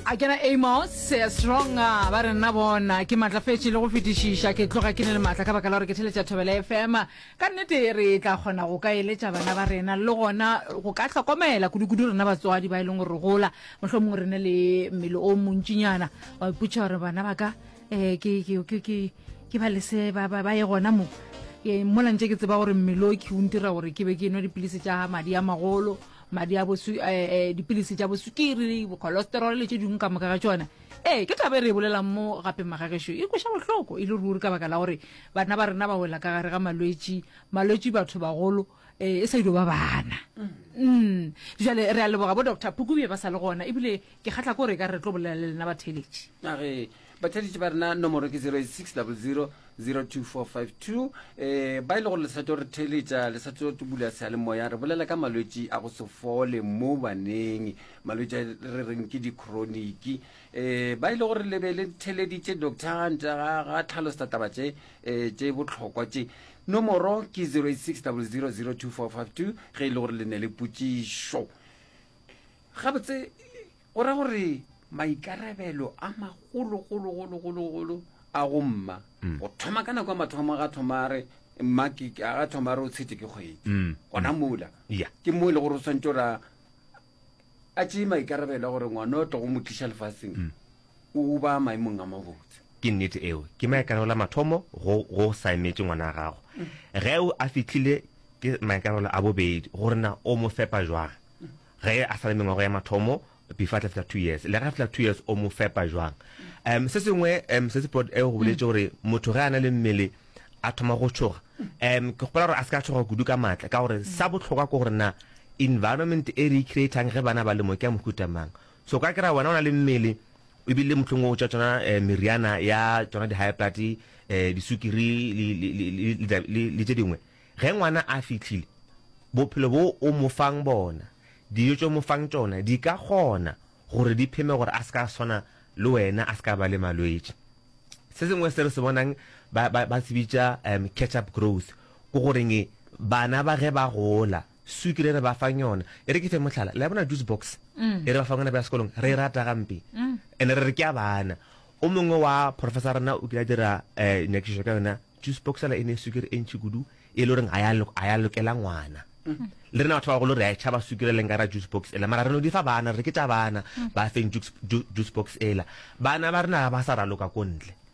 A ke na Amos Strong ba re nna bona ke matlafetše le go fetišiša ke tloga ke ne le maatla ka baka la gore ke theletša Thobela FM. Ka nnete re tla kgona go ka eletša bana ba rena le gona go ka hlokomela kudu-kudu rena batswadi ba e leng gore re gola mohlomongwe re ne le mmele o montšinyana wa ipotša gore bana ba ka um ke ke ke ke ke ba lese ba ba ba ye gona mo ke mola ntše ke tseba gore mmele o ke o ntira gore ke be ke nwa dipilisi tša madi a magolo madi a bosu eh, eh, dipilisi tša bosukiri bocholesterol le tše dingwe ka moka ga tšona ee ke taba e re e bolelang mo gape magagešo e kweša bohloko e le ruri ka baka la gore bana ba rena ba wela ka gare ga malwetši malwetši batho bagolo eh, e sa ilo ba bana mm. jale re a leboga bo doctor phukubje ba sa le gona ebile ke kgatla ko re ka re tlo bolela le lena batheeletši age batheeletši ba rena nomoro ke 06 00 02452 eh ba ile e gore le sa tlo re theeletša le sa tlo bula seyalemoya re bolela ka malwetši a go se fole mo baneng malwetši a re reng ke di-chroniki eh ba ile gore le be le theeleditše doctor nta ga ga tlhalosa taba tše eh tše bohlokwa tše nomoro ke 086 00 02452 ge e le gore le ne le potšišo Gabotse, go ra gore maikarabelo a magologologologologolo a go mma mm. go thoma ka nako ya mathomo ga thoma re mma ga thoma re o tshetse ke kgwedi mm. gona mm. mola ke mo e le gore o swantse ora a tšee maikarabelo a gore ngwana o tlo go mo tliša lefatsheng o ba maemong a mabotse. Ke nnete eo. Ke maikarabelo a mathomo go go sa emetše ngwana wa gago. Ge a fihlile ke maikarabelo a bobedi gore na o mo fepa jwang. Ge a sa le mengwaga ya mathomo before a tla fihla 2 years. Le ge a fihla 2 years o mo fepa jwang. Um se sengwe um se se prod eo go boletše gore motho ge a na le mmele a thoma go tšhoga. Um ke gopola gore a se ka tšhoga kudu ka matla ka gore sa bohlokwa ke gore na environment e re e creatang ge bana ba le mo ke ya mohuta mang. So ka kry-a wena o na le mmele ebile mohlomongwe o tša tšona eh, meriana ya tšona di-high blood eh, disukiri le, le, le, le, le, le tše dingwe. Ge ngwana a fihlile, bophelo bo o mo fang bona, dijo tše o mo fang tšona di ka kgona gore di pheme gore a se ka swana le wena, a se ka ba le malwetši. Se sengwe se re se bonang ba, ba, ba se bitša um, catch up growth, ke goreng bana ba ge ba gola Swikiri e re ba fang yona. E re ke fe mohlala, le a bona juice box e re ba fang yona ba ya sekolong, re e rata gampe. And re re ke ya bana. O mongwe wa professor rena o kile a dira um nyakišišo ka yona, juice box yela e ne swikiri e ntši kudu e le goreng ga ya ga ya lokela ngwana. Le rena batho ba bagolo re a e tšhaba swikiri e leng ka ra juice box ela, mara re no di fa bana re re ke tša bana, ba feng juice juice box ela. Bana ba rena ga ba sa raloka ko ntle.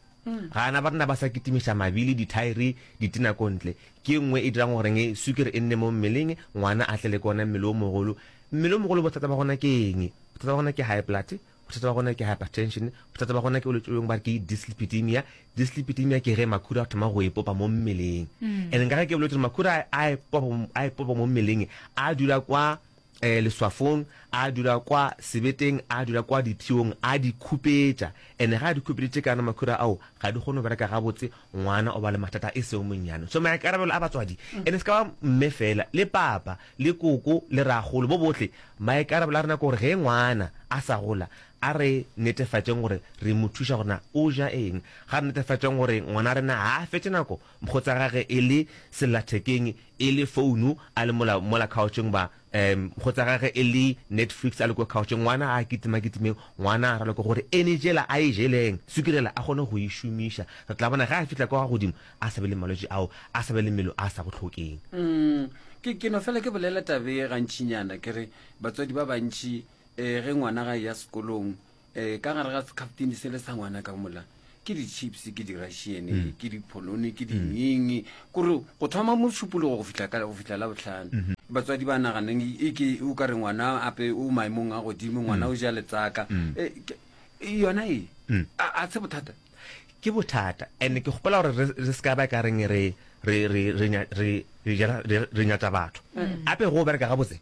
Gana ba rena ba sa kitimiša mabili, dithaere, ditena ko ntle. Ke e nngwe e dirang goreng sukiri e nne mo mmeleng, ngwana a tle le ke ona mmele o mogolo. Mmele o mogolo bothata ba gona ke eng? Bothata ba gona ke high blood, bothata ba gona ke hypertension, bothata ba gona ke bolwetši bjo bongwe ba re ke dyslipidemia. Dyslipidemia ke ge makhura a thoma go ipopa mo mmeleng. And nka ge ke bolwetši gore makhura a a ipopa mo mmeleng a dula kwa eh, leswafong, a dula kwa sebeteng, a dula kwa dipshiong, a di khupetša. Ene ge a di khupeditše ka ona makhura ao, ga di kgone go bereka gabotse, ngwana o ba le mathata e sego monnyane. So maikarabelo a batswadi, ene se ka ba mme fela, le papa, le koko, le rakgolo, bo bohle, maikarabelo a rena ke gore ge ngwana a sa gola, a re netefatšeng gore re mo thuša gore na o ja eng. Ga re netefatšeng gore ngwana rena ga a fetše nako mokgotsa gage e le sellathekeng, e le founu a le mola mola coucheng ba um kgotsa gage e le Netflix a le ko coucheng ngwana a kitima kitimeng ngwana a raloke gore energy ela a e jeleng sukiri ela a kgone go e šomiša re tla bona ge a fihla kwa godimo a sa be le malwetši ao a sa be le mmele a sa go hlokeng. Mm, ke ke no fela ke bolela tabe ye gantšinyana ke re batswadi ba bantši um ge ngwana ga ya sekolong um ka gare ga sekhaftini sele sa ngwana ka mola ke di-chips ke di-russian mm. ke di-polone ke di-nying mm. kore go thoma mošupologo go fihla go fihla la botlhano mm -hmm. batswadi ba naganeng e ke o ka re ngwana ape o maemong a godimo ngwana mm. o ja letsaka mm. e, yona e mm. a se bothata ke bothata and ke gopola gore re se ka ba ka reng re re re re re re nyatsa batho mm. ape go bereka gabotse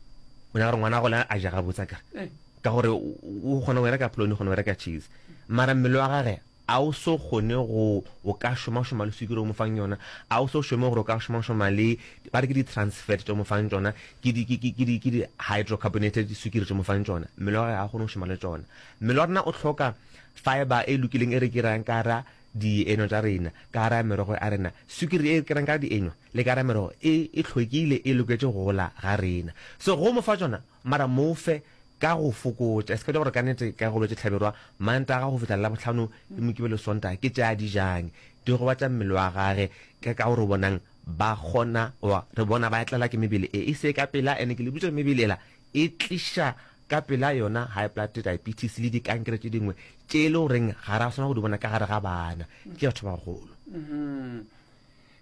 o nyaka gore ngwana gole a ja gabotse ka eh. Ka gore o kgona go e reka polone, o kgona go reka cheese. Mara mmele wa gage a o so kgone go o ka šomašoma le swikiri o mo fang yona, a o so šome gore o ka šomašoma le ba re ke di-trans fat tše o mo fang tšona, ke di, ke, ke, ke di, ke di hydrocarbonated swikiri tše o mo fang tšona. Mmele wa gage ga a kgone go šoma le tšona. Mmele wa rena o hloka fiber e lokileng e re kerang ka gara dienywa tša rena, ka gara merogo ya rena. Swikiri e re kerang ka dienywa le ka gara merogo e, e hlwekile, e loketše go gola ga rena. So go mo fa tšona, mara mo fe. Ka go fokotša, e se ka gore ka nnete ka go bolwetše Hlabirwa, Mantaga go fihla Labohlano le Mokibelo Sontaga ke tše a di jang, di gobatša mmele wa gage, ke ka gore bonang ba kgona goba re bona ba tlela ke mebele e e se ka pela, ene ke le botša gore mebele ela e tliša ka pela yona high blood, diabetes le dikankere tše dingwe tše e le goreng ga ra swanela go di bona ka gare ga bana, ke batho ba bagolo.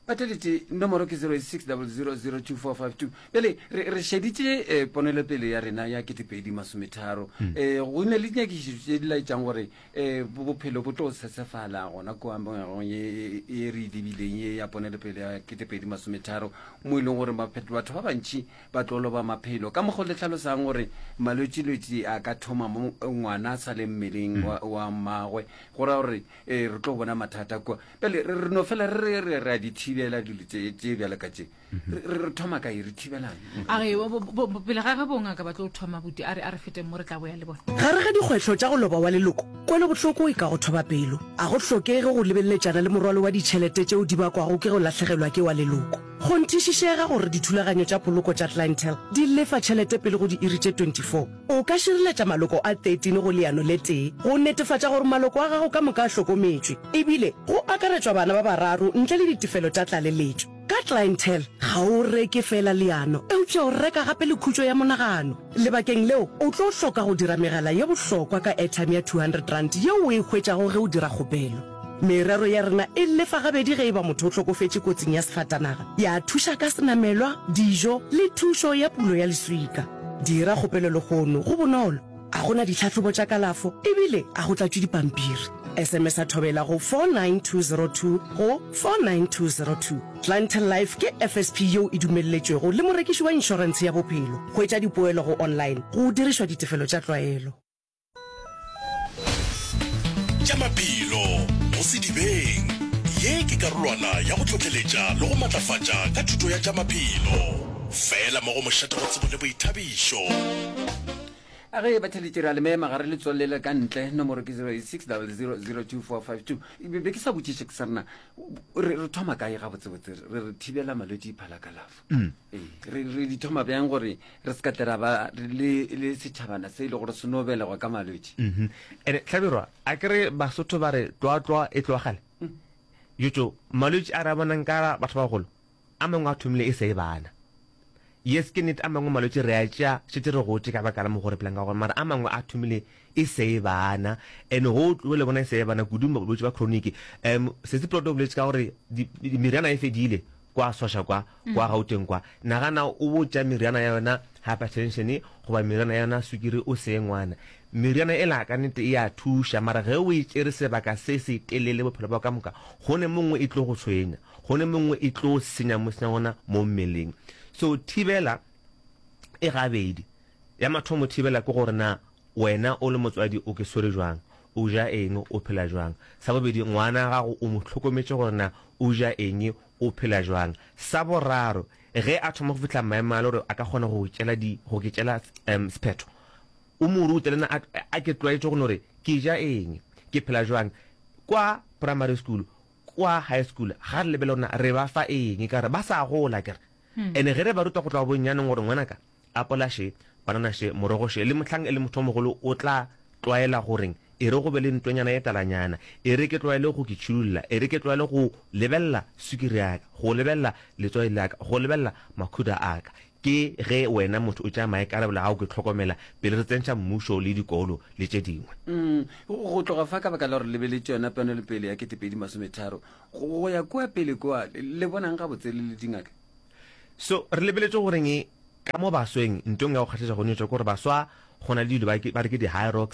Batheeletši, nomoro ke 06000242. Bjale re, re šeditše eh, ponelopele ya rena ya 2030. Eh, go ne le dinyakišišo tše di laetšang gore eh, bo- bophelo bo tlo sesefala gona kua ngwageng ye ye re e lebileng ye ya ponelopele ya 2030, mo e leng gore maphe- batho ba bantši ba tlo loba maphelo. Ka mokgwa o le hlalosang gore malwetšilwetši a ka thoma mo ngwana a sa le mmeleng wa, wa mmagwe, go ra gore eh, re tlo bona mathata kua. Bjale re re no fela re re re re a di thibela dilo tše tše bjalo ka tše. Re re re thoma kae re thibelang? A re bo- bo- bo- pele ga ge bongaka ba tlo thoma buti a re a re feteng mo re tla boya le bona. Gare ga dikgwetlho tša go loba wa leloko, kwelobohloko e ka go thoba pelo. A go hlokege go lebeleletšana le morwalo wa ditšhelete tšeo di bakwago ke go lahlegelwa ke wa leloko. Kgonthišišega gore dithulaganyo tša poloko tša Clientele di lefa tšhelete pele go diiri tše 24. O ka šireletša maloko a 13 go leano le tee go netefatša gore maloko a gago ka moka a hlokometšwe, ebile go akaretšwa bana ba bararo ntle le ditefelo tša tlaleletšo. Ka Clientele, ga o reke feela leano, eupša o reka gape le khutšo ya monagano. Lebakeng leo, o tlo hloka go dira megala ye bohlokwa ka airtime ya R200 yeo o e hwetšago ge o dira kgopelo. Merero ya rena e lefa gabedi ge e ba motho o hlokofetše kotsing ya sefatanaga, ya thuša ka senamelwa, dijo le thušo ya pulo ya leswika. Dira kgopelo lehono, go bonolo, a go na ditlhahlobo tša kalafo ebile a go tlatšwe dipampiri. SMS-a Thobela go 49202 go 49202. Clientele Life ke FSP yeo e dumelletšwego le morekiši wa inšorentshe ya bophelo. Hwetša dipoelo go online go dirišwa ditefelo tša tlwaelo. Tša maphelo go sedibeng. Ye ke karolwana ya go hlohleletša le go matlafatša ka thuto ya tša maphelo. Fela mo go mošate wa tsebo le boithabišo. A ge batheletši re a le mema ga re le tswalele ka ntle nomoro ke 06000242. Be ke sa botšiše ke sa rena re re thoma kae gabotsebotse re re thibela malwetši phala kalafo. Mm. Ee, re re di thoma bjang gore re se ka tle ra ba le le setšhabana se e le gore se no belegwa ka malwetši. Mhm. Ene Hlabirwa, a ke re Basotho ba re tlwatlwa e tloga kgale. Mm. Jotjo, malwetši a re a bonang ka batho ba bagolo, a mangwe a thomile e sa e bana. Yes, ke nnete a mangwe malwetši re a tšea šetše re gotše ka baka la mokgwa re phelang ka gona, mara a mangwe a thomile e se e bana. And go tlo le bona e se e bana kudu bolwetši ba chronic. Um Sesi Plot o boletše ka gore meriana e fedile kwa Sosha kwa, kwa Gauteng kwa. Nagana o bo tša meriana ya yona hypertension goba meriana ya yona sukiri o se ngwana. Meriana ela ka nnete e a thuša mara ge o e tšere sebaka se se telele bophelo bja ka moka, go ne mongwe e tlo go tshwenya, go ne mongwe e tlo senya mo senya gona mo mmeleng. So thibela e gabedi. Ya mathomo thibela ke gore na wena o le motswadi o ke swere jwang, o ja eng, o phela jwang. Sa bobedi ngwana gago o mo hlokometše gore na o ja eng, o phela jwang. Sa boraro ge a thoma go fihla maemo a le gore a ka kgona go tšela di go ke tšela um sephetho, o mo rute le nna a a ke tlwaetše go no re ke ja eng, ke phela jwang. Kwa primary school, kwa high school ga re lebelele gore na re ba fa eng ka gore ba sa gola akere. Ene ge re ba ruta go tloga bonnyaneng gore ngwanaka Apola še, banana še, morogo še, le mohlang e le motho o mogolo o tla tlwaela goreng, E re go be le ntwanyana ye talanyana, e re ke tlwaele go ke tšhidulla, e re ke tlwaele go lebelela sukiri ya ka, go lebelela letswai la ka, go lebelela makhura a ka. Ke ge wena motho o tšea maikarabelo a go ke hlokomela pele re tsentšha mmušo le dikolo le tše dingwe. Go tloga fa ka baka la gore lebeletše yona ponelopele ya 2030, go ya kua pele kua, le bonang gabotse le le dingaka? So re lebeletše goreng Ka mo basweng, ntweng ya go kgahliša go nyetšwa ke gore baswa go na le dilo ba ba re ke di-Hyrox,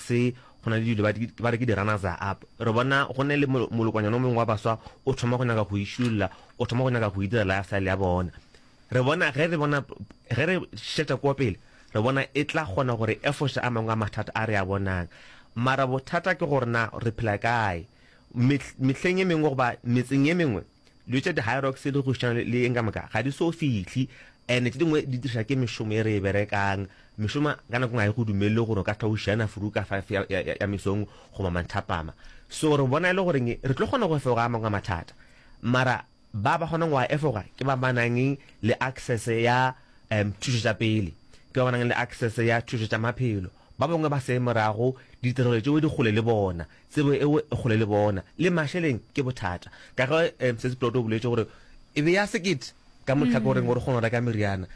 go na le dilo ba ba re ke di-runners up. Re bona go ne le molokonyana o mongwe wa baswa o thoma go nyaka go išulla, o thoma go nyaka go itira lifestyle ya bona. Re bona ge re bona ge re šetša kua pele, re bona e tla kgona gore efoše a mangwe a mathata a re a bonang. Mara bothata ke gore na re phela kae. Mehleng e mengwe goba metseng e mengwe, Dilo tša di-Hyrox le go šana le eng ka moka ga di so fihle, and tše dingwe di diriša ke mešomo e re e berekang. Mešomo ka nako nngwe ga e go dumelele gore o ka hlwa o šiana furu ka five ya, ya, ya mesong goba manthapama. So re bona e le goreng re tlo kgona go efoga a mangwe a mathata, mara ba ba kgonang go a efoga ke ba ba nang le access ya um thušo tša pele, ke ba ba nang le access ya thušo tša maphelo. Ba bangwe ba se morago, ditirelo tšeo di kgole le bona, tsebo eo e kgole le bona, le mašeleng ke bothata. Ka ge um Sesi Plot o boletše gore e be ya sekete ka mo tlhakoreng gore kgone go reka meriana.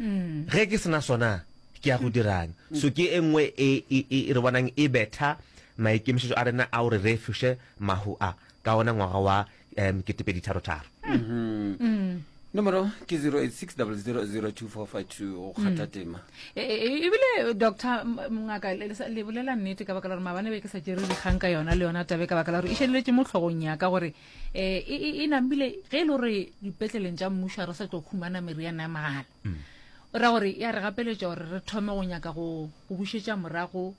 Ge ke se na sona, ke ya go dirang? So ke e nngwe e, e, e re bonang e betha maikemišetšo a rena a gore re efoše mahu a ka ona ngwaga wa um ketepeditharotharo. Nomoro ke 086 0002452 go kgatha tema. E, e, e, ebile doctor ngaka le bolela nnete ka baka la gore maabane be ke sa tšere dikgang ka yona le yona tabe ka baka la gore e šaleletše mo tlhogong ya ka gore um e namile ge e le gore dipetleleng tša mmušo a re sa tlo khumana meriana ya mahala o ra gore ya re gapeletša gore re thome go nyaka go bušetša morago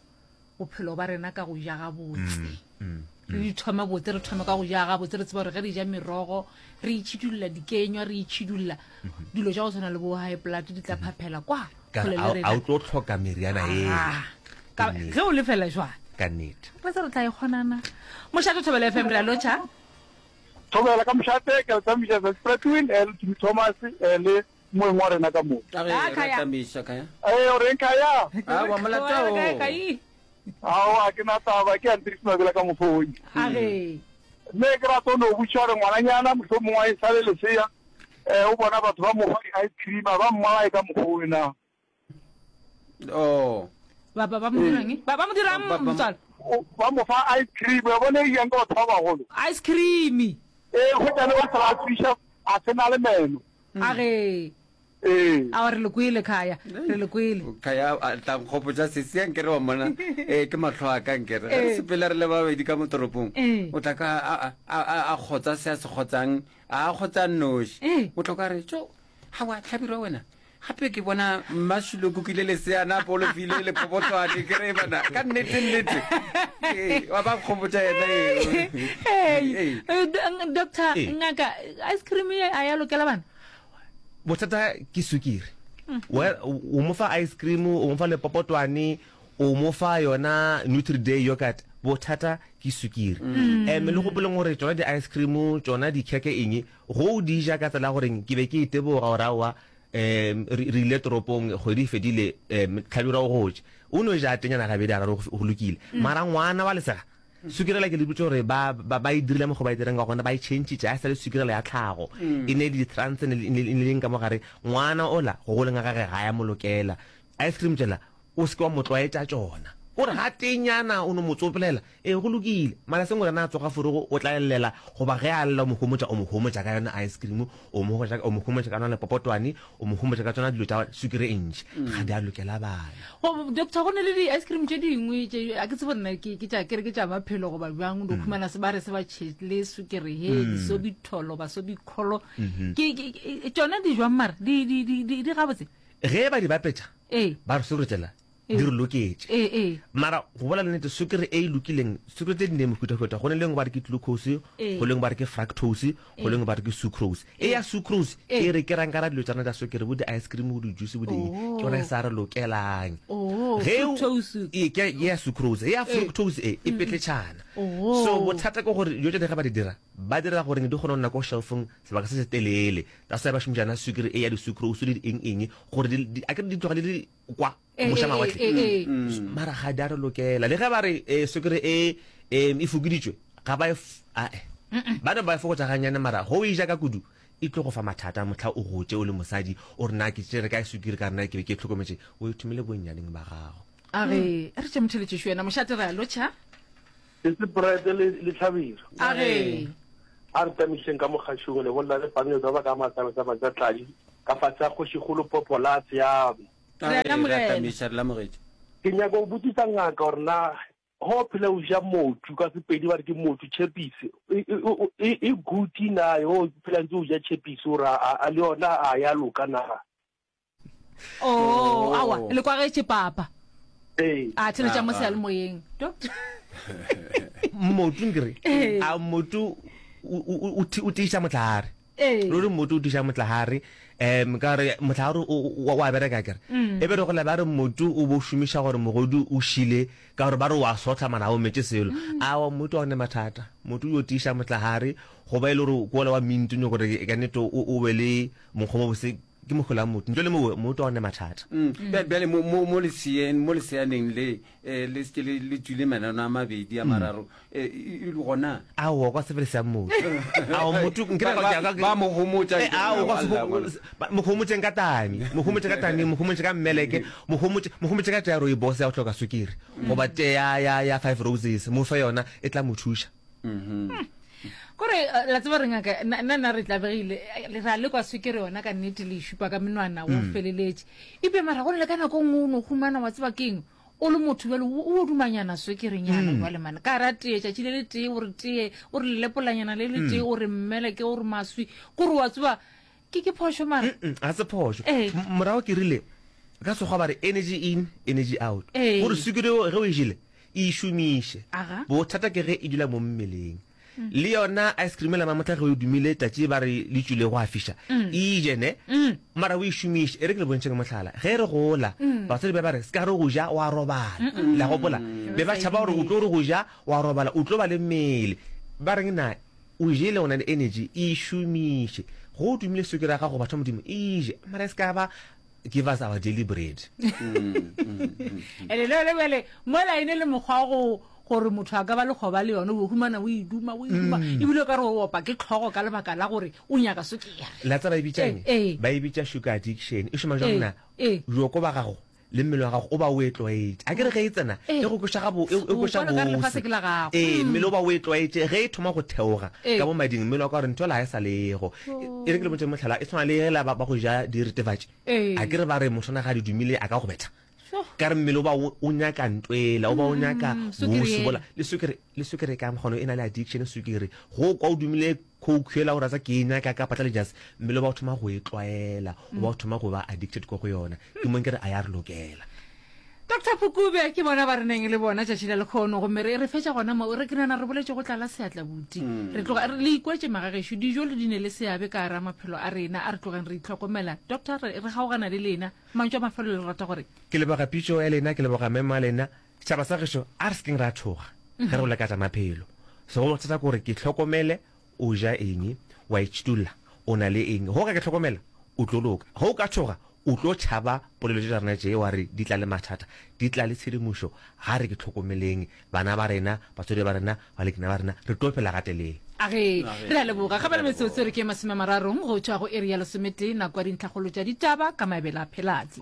bophelo ba rena ka go ja gabotse mm, mm, mm. re di thome botse re thome ka go ja gabotse re tseba gore ge re ja merogo re itšhidulla dikenywa re itšhidulla mm-hmm. dilo tša go tshwana le bo high blood di tla mm-hmm. phaphela kwa a o tlo tlhoka meriana e ah, ge o lefela jwang ka nnete re se re tla e kgonana mošate thobela fm re a lotšha thobela ka mošate ke le tsamaisa Spratwin eh, le Thomas eh, le Moeng wa rena ka mo. A re, Ah, ra Khaya. tlamiša, Khaya. Ee, o reng Khaya? Ah, wa molata Wa kae, o. Kai? Aowa, ke na taba, ke Andries Mabela ka Mofoi. A re. Mme ke rata o no botšiša gore ngwananyana mohlomongwe a e sa le lesea, eh, o bona batho ba mo fa di-ice cream, a ba mmolaye ka mokgwa owe na? Oh. Ba ba ba mo dirang? Ba ba mo dirang Ba- ba- motswala? O- Ba mo fa ice cream, wa bona e jang ke batho ba bagolo. Ice cream. Ee, hwetša le ba se ba tswiša, a se na le meno. A re. Ee. Aowa re le kwele Khaya, re le kwele. Khaya a tla nkgopotša sesi a nkere wa mmona eh ke mahlo a ka nkere ge re sepela re le babedi ka mo toropong o tla ka a a a a kgotsa se a se kgotsang a kgotsa nnoši o tlo ka re tšo hawa hlabirwa wena Gape ke bona Mmašilo kukile leseana a polofile le popotlwane ke re bana ka nnete nnete ee wa ba kgobotša yena ee doctor ngaka ice cream ye a ya lokela bana bothata ke sukiri mm. o mo fa ice cream o mo fa lepopotwane o mo fa yona nutri day yogurt bothata ke sukiri mm. um le gopoleng gore tsona di-ice cream tsona dikheke eng Go o di ja ka tsela ya gore ke be ke iteboga gore aowa um re re ile toropong kgwedi e fedile um Hlabirwa o gotše. O no ja tenyana gabedi a raro go lokile. Mara ngwana wa lesega sukiri yela ke le botša gore ba ba ba e dirile mokgwa ba e dirang ka gona ba e tšhentšhitše ga e sa le sukiri yela ya tlhago. E ne le di-trans ne le ne le eng ka mo gare. Ngwana ola go goleng ga gage ga ya mo lokela. Ice cream tšela O se ke wa mo tlwaetša tšona. O re gatenyana o no mo tsopelela, Ee, go lokile. Mara seng gore na a tsoga forogo o tla llela, goba ge a lla o mo homotša, o mo homotša ka yona ice cream, o mo hotša, o mo homotša ka yona lepopotwane, o mo homotša ka tšona dilo tša sukiri e ntši. Ga di a lokela bana. Go, doctor, go na le di-ice cream tše dingwe tše, a ke tsebe gore na ke, ke tša, ke re ke tša maphelo goba bjang, o no khumana se ba re se ba tšhele sukiri he, disobitholo, basobikholo. Ke, ke, ke, tšona di jwang mara? Di, di, di, di, di gabotse? Ge ba di bapetša, Ee. ba re sukiri tšela di re loketše. Ee, ee. Mara go bolela nnete, sukiri e e lokileng, sukiri tše di ne mehutahuta. Go ne le engwe ba re ke glucose, Ee. go le engwe ba re ke fructose, go le engwe ba re ke sucrose. E ya sucrose Ee. e re ke rang ka ra dilo tša rena tša sukiri, bo di-ice cream, bo di-juice, bo di eng, ke yona e sa re lokelang. Oh, Ge o- fructose. Ee, ke ya ya sucrose. E ya fructose e, e petletšhana. Oh. So bothata ke gore dilo tše di ge ba di dira, ba dira gore di kgone go nna ko shelfong sebaka se se telele. That's why ba šomiša yona sukiri e ya di-sucrose le di eng eng gore di, di, akere di tloga di le kwa Eh, moša eh, mawatle. eh, eh, eh. Mara ga di a re lokela. Le ge ba re eh, sukiri e em, e fokoditšwe, ga ba e f- ae. Ba no ba e fokotša gannyane mara go e ja ka kudu e tlo go fa mathata mohla o gotše o le mosadi o re na ke tšere kae sukiri ka re na ke be ke e hlokometše o e thomile bonnyaneng ba gago. A re, a re tše motheletšešo yena mošate re a lotšha. Ke Seprete le, le Hlabirwa. A re. A re tamišeng ka mogašong le bolela le Pamela ba ka Matsabetsaba tša Tladi ka fase ga Kgošikgolo Popolase ya. Re a Re a lamogela. tamiša, re lamogetše. Ke nyaka go botšiša ngaka gore na ge o phela o ja motšu, ka Sepedi ba re ke motšu, tšhepisi, e, e, e, e good na ge o phela ntse o ja tšhepisi gore a, a le yona a ya loka na? Oh, awa, le kwagetše papa. Ee. A theletša mo seyalemoyeng. Doctor. Mmotu nkere. Ee. A mmotu o o o tiiša motlahare. Ee. Ruri mmotu o tiiša motlahare. Um ka gore motlahare o o wa bereka kere. E be re gola ba re mmotu o bo šomiša gore mogodu o šile ka gore ba re wa sotla mara ga o metše selo. Awa mmotu ga o ne mathata. Mmotu o yo tiiša motlahare goba e le gore ke wola wa mint o nyaka gore ka nnete o be le monkgo mo bose. ke mohola wa motho. Ntle le mowe, motho ga o ne mathata. Mm. Bjale mo, mo, mo leseeng, mo leseaneng le, eh, le seke le, le tswile manano a mabedi a mararo, eh, e, e gona. Aowa, kwa se fele sa motho. Ao, motho, nkere Ba, ka, ba, ka, ba mo homotša, Eh, nkere ao, kwa se alla, ho- ngwana. ba- mo homotšeng ka tami, mo homotše ka tami, mo homotše ka mmeleke, mo homotše, mo homotše ka tee ya rooibos ya go hloka sukiri, goba tee ya, ya, ya five roses, mo fe yona, e tla mo thuša. Kore eh, la tseba re ngaka nna nna nna re tlabegile eh, re a lekwa swekere yona ka nnete le e šupa ka menwana o feleletše ebile mara go ne le ka nako nngwe o no humana wa tseba keng o le motho bjale o o dumanyana swekerenyana jwale mane ka ra tee tšatši le le tee o re tee o re lepolanyana le le tee o re mmeleke o re maswi kore wa tseba ke ke phošo mara Mm, ga se phošo Ee. M- morago ke rile ka sekgwa ba re energy in energy out Ee. gore sukiri eo ge o e jele e šomiše Aga. bothata ke ge e dula mo mmeleng le yona ice cream la mamotla ge o dumile tšatši ba re le tšwile go a fiša e je ne mara o e šomiše e re ke le bontšheng mohlala ge re gola batswadi ba ba re se ka re go ja wa robala la gopola be ba tšhaba gore o tlo re go ja wa robala o tlo ba le mmele ba reng na O jele, o na le energy, e šomiše. Go o tumile swikiri ya gago, batho ba Modimo, e je. Mara e se ka ba give us our daily bread. Ene le yone bjale mola e ne le mokgwa wa go gore motho a ka ba lekgoba le yone o humana o e duma o e duma mm. ebile o ka re o opa ke tlhogo ka lebaka la gore o nyaka swikiri. La tseba e bitša eng? Eh, eh. Ba e bitša sugar addiction. E šoma jang na? Eh. Bjoko ba gago le mmele wa gago o ba o e tlwaetše. A ke re ge e tsena Ee. e go kweša gabo e e O kweša kwala okare bose. lefase ke la gago. Ee, mmele o ba o e tlwaetše ge e thoma go theoga Ee. ka mo mading mmele wa ka gore ntho la e sa lego. E re ke le botše mohlala e tshwana le ge la ba ba go ja diretefatši. Ee. A ke re ba re motho na ga di dumile a ka go betha. Sho. Ka re mmele o ba o o nyaka ntwela o ba o nyaka Mm, sukiri bose yela. bola le sukiri le sukiri ka mokgono e na le addiction sukiri. Go kwa o dumile Coke yela o rata ke e nyaka ka patla le jase, mmele o ba o thoma go e tlwaela, o ba o thoma go ba addicted ko go yona. Ke mo nkere a ya re lokela. Doctor Phukube ke bona ba re neng le bona tšatši la lekgono gomme re re fetša gona mo re ke nana re boletše go tlala seatla buti re tloga re le ikwetše magagešo dijo le di ne le seabe ka gara maphelo a rena a re tlogeng re itlhokomela doctor re re kgaogana le lena mantšu a mafelelo le rata gore Ke leboga pitšo ya lena, ke leboga memo ya lena. Setšhaba sa gešo, a re se keng ra tšhoga ge re bolela ka tša maphelo. Segolo thata ke gore ke hlokomele o ja eng, wa itšhitulla, o na le eng. Ge o ka ke hlokomela, o tlo loka. Ge o ka tšhoga, o tlo tšhaba polelo tše tša rena tše wa re di tla le mathata, di tla le tshedimošo. Ga re ke hlokomeleng bana ba rena, batswadi ba rena, balekane ba rena, re tlo phela gatelele. A ge, re a leboga. Ga bjale metsotso e re ke e masomemararong go tšwa go iri ya lesometee, nako ya dintlhakgolo tša ditaba ka Maebela Phelatse.